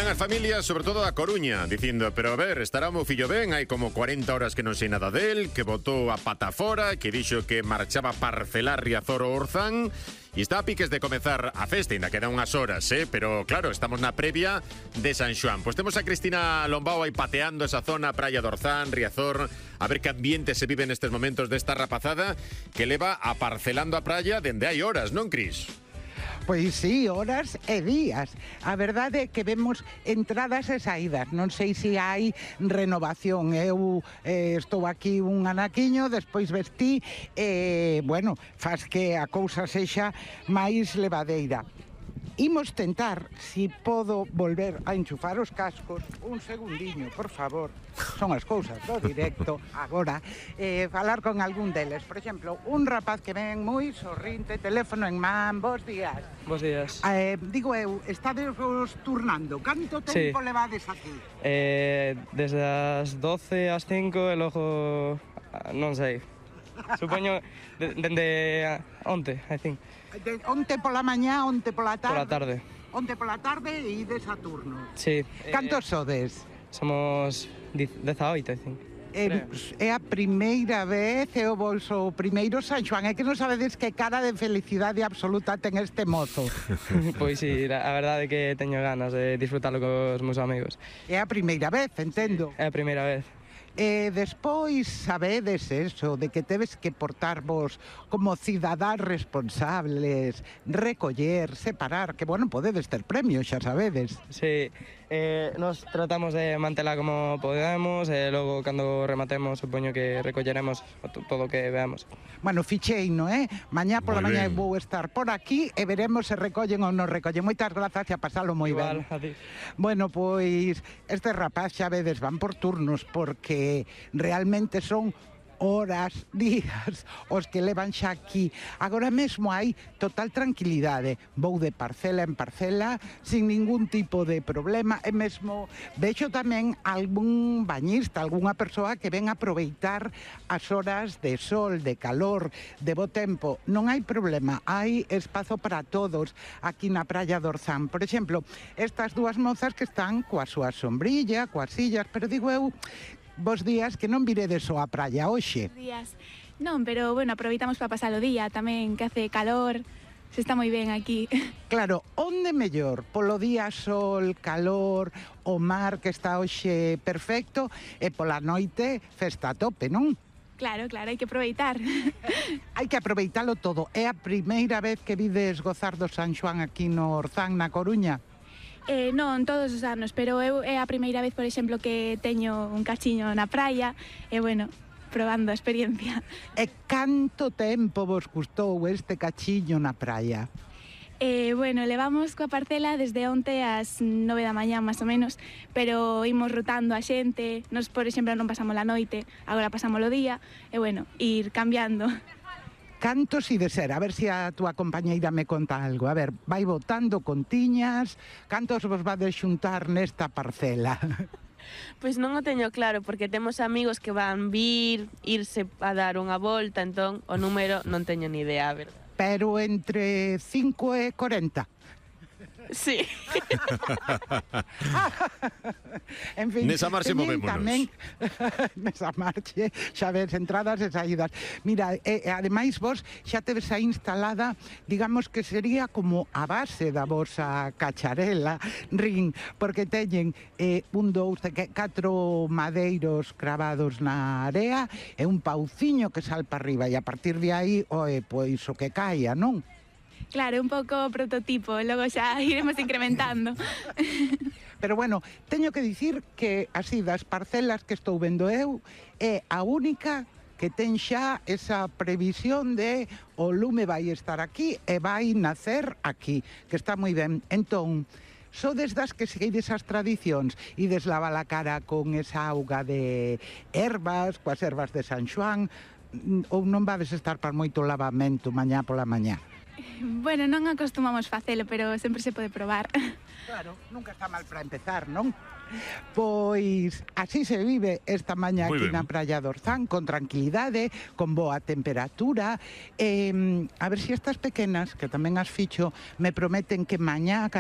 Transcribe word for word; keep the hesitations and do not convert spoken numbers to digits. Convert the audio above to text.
Están as familias, sobre todo a Coruña, dicindo, pero a ver, estará o meu fillo ben, hai como cuarenta horas que non sei nada del, que botou a pata fora, que dixo que marchaba a parcelar Riazor o Orzán, e está a piques de comezar a festa, ainda quedan unhas horas, eh? Pero claro, estamos na previa de San Xoán. Pois temos a Cristina Lombao aí pateando esa zona, Praia do Orzán, Riazor, a ver que ambiente se vive nestes momentos desta rapazada que leva a parcelando a praia dende hai horas, non, Cris? Pois sí, horas e días. A verdade é que vemos entradas e saídas. Non sei se hai renovación. Eu eh, estou aquí un anaquiño, despois vestí, e, eh, bueno, faz que a cousa sexa máis levadeira. Imos tentar, si podo volver a enchufar os cascos. Un segundiño, por favor. Son as cousas do directo. Agora, eh, falar con algún deles. Por exemplo, un rapaz que ven moi sorrinte, teléfono en man. Bos días. Bos días. Eh, digo eu, estades vos turnando. Canto tempo sí. levades aquí? Eh, desde as doce ás cinco e logo non sei. Supoño de, dende onte, I think. De, onte pola mañá, onte pola tarde. Pola tarde. Onte pola tarde e ides a turno. Sí. Cantos eh, sodes? Somos dezaoito, I think. É, é a primeira vez, é o vosso primeiro San Xoán. É que non sabedes que cara de felicidade absoluta ten este mozo. Pois sí, a verdade é que teño ganas de disfrutalo cos meus amigos. É a primeira vez, entendo. É a primeira vez. E despois sabedes eso, de que tedes que portarvos como cidadáns responsables, recoller, separar, que, bueno, podedes ter premios, xa sabedes. Sí, eh, nos tratamos de mantela como podemos, e logo, cando rematemos, supoño que recolleremos todo o que veamos. Bueno, fichei, non é? Mañá pola mañá vou estar por aquí e veremos se recollen ou non recollen. Moitas grazas e a pasalo moi ben. Igual, a ti. Bueno, pois, este rapaz, xa vedes, van por turnos, porque realmente son horas, días, os que levan xa aquí. Agora mesmo hai total tranquilidade. Vou de parcela en parcela, sin ningún tipo de problema, e mesmo vexo tamén algún bañista, algunha persoa que ven a aproveitar as horas de sol, de calor, de bo tempo. Non hai problema, hai espazo para todos aquí na Praia do Orzán. Por exemplo, estas dúas mozas que están coa súa sombrilla, coas sillas, pero digo eu, bos días, que non viredes só a praia hoxe. Bos días. Non, pero, bueno, aproveitamos para pasar o día tamén, que hace calor, se está moi ben aquí. Claro, onde mellor? Polo día, sol, calor, o mar que está hoxe perfecto, e pola noite, festa a tope, non? Claro, claro, hai que aproveitar. Hai que aproveitalo todo. É a primeira vez que vides gozar do San Xoán aquí no Orzán, na Coruña? Eh, non, todos os anos, pero eu é a primeira vez, por exemplo, que teño un cachiño na praia, e, bueno, probando a experiencia. E canto tempo vos custou este cachiño na praia? Eh, bueno, levamos coa parcela desde onte ás nove da mañá, máis ou menos, pero imos rotando a xente, nos, por exemplo, non pasamos a noite, agora pasamos o día, e, bueno, ir cambiando. Cantos i de ser? A ver se a túa compañeira me conta algo. A ver, vai votando contiñas, cantos vos vades xuntar nesta parcela? Pois non o teño claro, porque temos amigos que van vir, irse a dar unha volta, entón o número non teño ni idea, a verdade. Pero entre cinco e corenta. Sí. En fin, nesa marxe movémonos. Tamén, nesa marxe, xa ves, entradas e saídas. Mira, e, e ademais vos xa tedes aí instalada, digamos que sería como a base da vosa cacharela, ring, porque teñen eh, un, dous, catro madeiros cravados na area e un pauciño que sal para arriba, e a partir de aí, oe, pois o que caia, non? Claro, un pouco prototipo, logo xa iremos incrementando. Pero bueno, teño que dicir que así das parcelas que estou vendo eu, é a única que ten xa esa previsión de o lume vai estar aquí e vai nacer aquí, que está moi ben. Entón, sodes das que seguides as tradicións, ides lavar a cara con esa auga de ervas, coas ervas de San Xoán, ou non vades estar para moito lavamento mañá pola mañá? Bueno, non acostumamos facelo, pero sempre se pode probar. Claro, nunca está mal para empezar, non? Pois así se vive esta mañá aquí na Praia do Orzán, con tranquilidade, con boa temperatura. Eh, a ver se estas pequenas, que tamén as ficho, me prometen que mañá